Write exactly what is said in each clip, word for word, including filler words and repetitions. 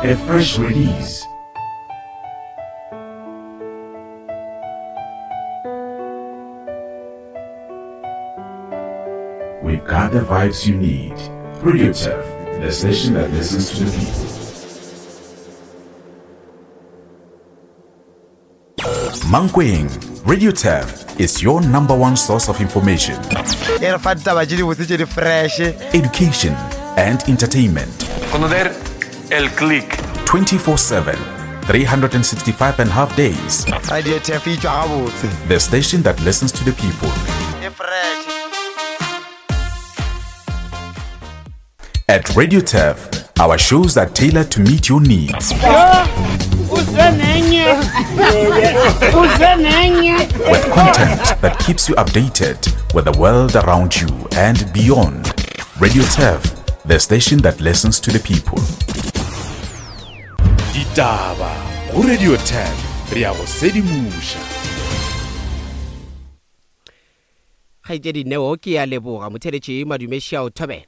A fresh release. We've got the vibes you need. Radio Turf, the station that listens to the people. Mankweng, Radio Turf is your number one source of information. E re fa ditaba tše dibotse tše di fresh. Education and entertainment. Conocer el click. twenty-four seven, three hundred and sixty-five and a half days. Radio Turf e tšwa gabotse. The station that listens to the people. E fresh. At Radio Turf, our shows are tailored to meet your needs. With content that keeps you updated with the world around you and beyond. Radio Turf, the station that listens to the people. Ditaba go Radio Turf, re a go sedimoša. Kgaetšedi Neo ke a leboga motheletši Madumešia o thobela.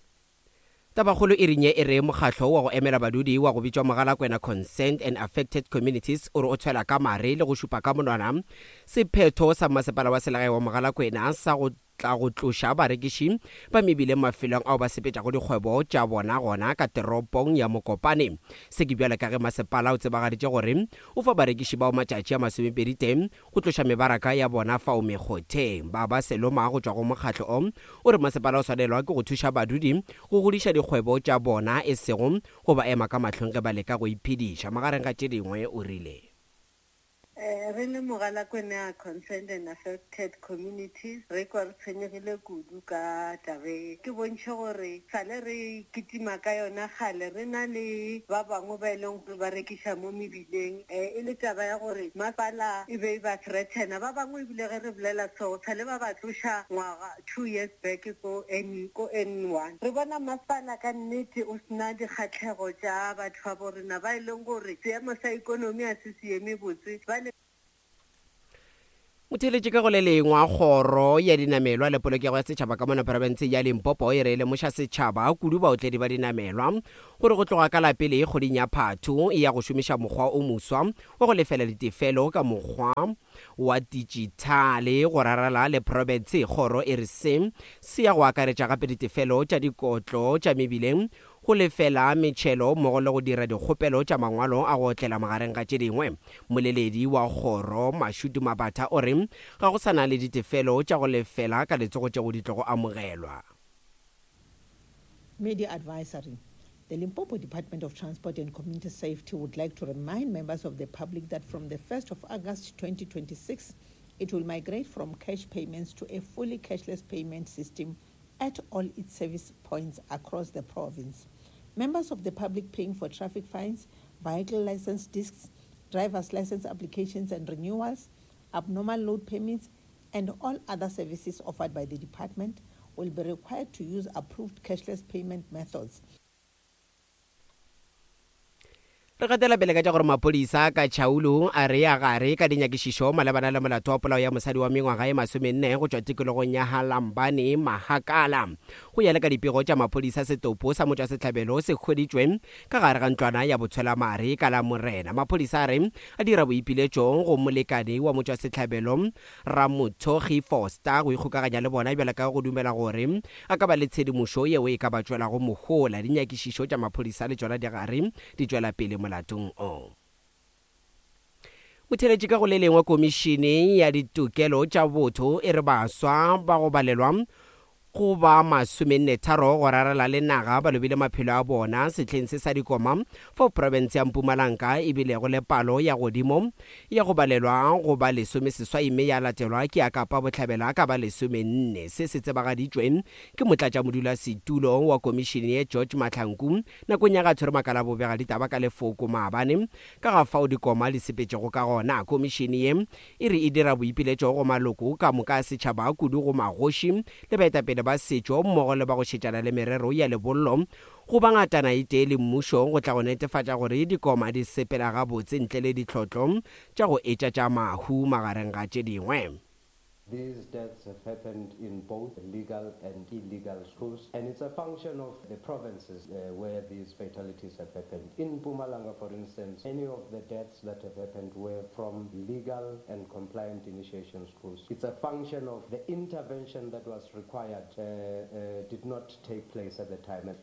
Tabakgolo e rinye e re mokgatlo wa go emela badudi wa go bitšwa Mogalakwena Concerned and Affected Communities o re o tshwela ka mare le go šupa ka monwana sephetho sa masepala wa selegae wa Mogalakwena sa go tla go tloša barekiši ba mebileng mafelong ao ba sepetšago dikgwebo tša bona gona ka teropong ya Mokopane. Se ke bjale ka ge masepala o tsebagaditše gore o fa barekiši bao matšatši a masomepedi tee go tloša mebaraka ya bona fao mekgotheng. Ba ba seloma go tšwa go mokgatlo o o re masepala o swanelwa ke go thuša badudi go godiša dikgwebo tša bona e sego go ba ema ka mahlong ge ba leka go iphediša. Magareng ga tše dingwe o rile re le Mogalakwena Concerned and Affected Communities re kwa re tshwenyegile kudu ka tabe ke bontšhe gore sale re kitima ka yona kgale re na le ba bangwe ba e leng gore ba rekiša mo mebileng e le taba ya gore masepala e be ba threatena ba bangwe ebile ge re bolela so sale ba ba tloša ngwaga two years back ko N ko N one re bona masepala ka nnete o sena dikgatlhego tša batho ba bo rena ba e leng gore seemo sa ikonomi a se se eme botse ba Motheletši ka go le lengwe kgoro ya dinamelwa le polokego ya setšhaba ka mona profense ya Limpopo e re lemoša setšhaba kudu baotledi ba dinamelwa gore go tloga ka la pele kgweding ya Phathu e ya go šomiša mokgwa o moswa wa go lefela ditefelo ka mokgwa wa dijithale go rarala le profense. Kgoro e re se se ya go akaretša gape ditefelo tša dikotlo tša mebileng, go lefela metšhelo mmogo le go dira dikgopelo tša mangwalo a go otlela magareng ga tše dingwe. Moleledi wa kgoro Mashudu Mabatha o re ga go sana le ditefelo tša go lefela ka letsogo tšeo di tlogo amogelwa. Media advisory. The Limpopo Department of Transport and Community Safety would like to remind members of the public that from the first of August twenty twenty-six, it will migrate from cash payments to a fully cashless payment system at all its service points across the province. Members of the public paying for traffic fines, vehicle license discs, driver's license applications and renewals, abnormal load permits, and all other services offered by the department will be required to use approved cashless payment methods. Re gatela pele ka tša gore maphodisa ka Tšhaulo a re ya gare ka dinyakišišo malebana le molato wa polao ya mosadi wa mengwaga e masomenne go tšwa tikologong ya Halambane Mahakala. Go ya le ka dipego tša maphodisa, setopo sa motšwasehlabelo se hweditšwe ka gare ga ntlwana ya botshwelamare ka la Morena. Maphodisa a re a dira boipiletšo go molekane wa motšwasehlabelo Ramothogi Foster go ikgokaganya le bona bjale ka go dumela gore a ka ba le tshedimošo yeo e ka ba tšwelago mohola. Dinyakišišo tša maphodisa le tšona di gare di tšwela pele molatong o. Motheletši ka go le lengwe komišene ya ditokelo tša botho e re baswa ba go balelwa go ba masomenne tharo go rarela le naga ba lobile maphelo a bona sehleng se sa dikoma fao profense ya Mpumalanga e bilego le palo ya godimo ya go balelwa go ba lesome seswai mme ya latelwa ke ya Kapa Bohlabela ka ba lesomenne. Se se tsebagaditšwe ke motlatšamodulasetulo wa komišene ye George Mahlangu nakong ya ga tshwere makala bobega ditaba ka lefoko maabane ka ga fao dikoma di sepetšego ka gona. Komišene ye e re e dira boipiletšo go maloko ka moka a setšhaba kudu go magoši le baetapele ba setšo mmogo le ba go šetšana le merero ya lebollo go ba ngatana e tee le mmušo go tla go netefatša gore dikoma di sepela gabotse ntle le ditlhotlo tša go etša tša mahu magareng ga tše dingwe. These deaths have happened in both legal and illegal schools, and it's a function of the provinces uh, where these fatalities have happened. In Mpumalanga, for instance, any of the deaths that have happened were from legal and compliant initiation schools. It's a function of the intervention that was required uh, uh, did not take place at the time.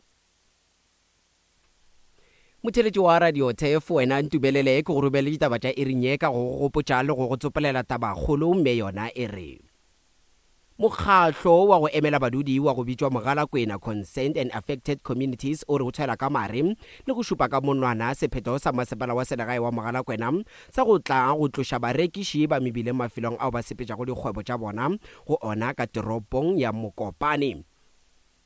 Motheletši wa radio T F, wena ntumelele ke go romele ditaba tša iring ye ka go go gopotša le go go tsopolela tabakgolo, mme yona e re mokgahlo wa go emela badudi wa go bitšwa Mogalakwena Concerned and Affected Communities o re o tshwela ka mare le go šupa ka monwana sephetho sa masepala wa selegae wa Mogalakwena sa go tla go tloša barekiši ba mebileng mafelong ao ba sepetšago dikgwebo tša bona go ona ka toropong ya Mokopane.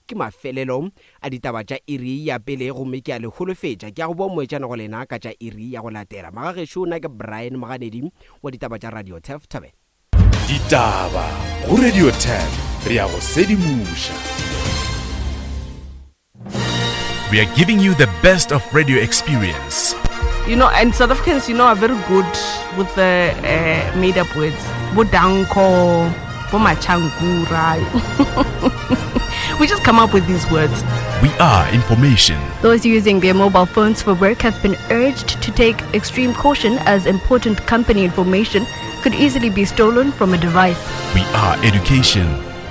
Ke mafelelo a ditaba tša iri ya pele, gomme ke a le holofetša ke a go boa moetšana go lena ka tša iri ya go latela. Magagešo, nna ke Brian Moganedi wa ditaba tša Radio Tef Thabela. Ditaba go Radio Tef, re a go sedimoša. We are giving you the best of radio experience. You know, and South Africans, you know, are very good with the uh, made up words. Bodanko, Bomachankura. We just come up with these words. We are information. Those using their mobile phones for work have been urged to take extreme caution as important company information could easily be stolen from a device. We are education.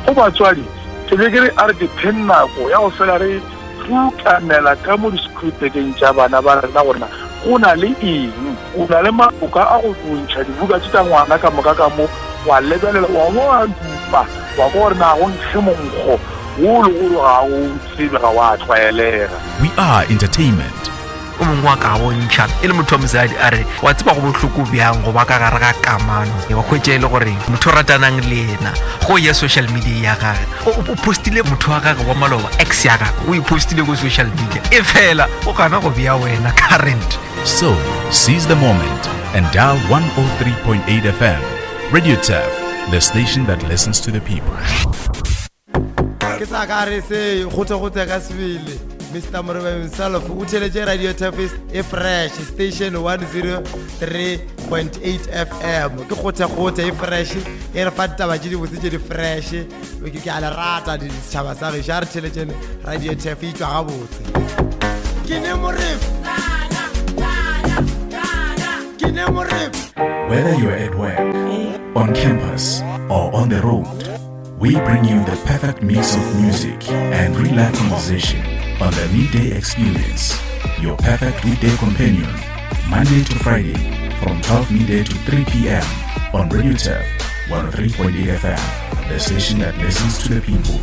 Go batswadi ke be ke re a re dipheng nako ya go fela re rukanela ka mo di-schoolbageng tša bana ba rena gorena go na le eng. O na le maboka a go bontšha dibuka tše tša ngwana ka moka ka mo, wa lebelela, wa bo wa dupa, wa kwa gore na go nkge monkgo wo le gore ga o tsebe, ga wa tlwaelega. We are entertainment. O mongwe wa ka bontšha e le motho wa mosadi a re wa tseba go bohloko bjang go ba ka gare ga kamano, wa hwetša e le gore motho o ratanang le yena go ya social media ya gage o o postile motho wa gage wa maloba, ex ya gage, o e postile ko social media, e fela o gana go bea wena current. So, seize the moment and dial one oh three point eight F M. Radio T E F, the station that listens to the people. Ke sa ka re se gote-gote ka sebele. Mister Morebe himself o theletše Radio Tef e fresh, station one oh three point eight F M. Ke gote-gote e fresh, e re fa ditaba tše dibotse tše di fresh. Ke ke a le rata setšhaba sa gešo, a re theletšene Radio Tef, e tšwa gabotse. Ke ne Morebe, ke ne Morebe. Whether you're at work, on campus, or on the road, we bring you the perfect mix of music and real life conversation on the Midday Experience, your perfect weekday companion, Monday to Friday from twelve midday to three p m on Radio Turf one oh three point eight F M, the station that listens to the people.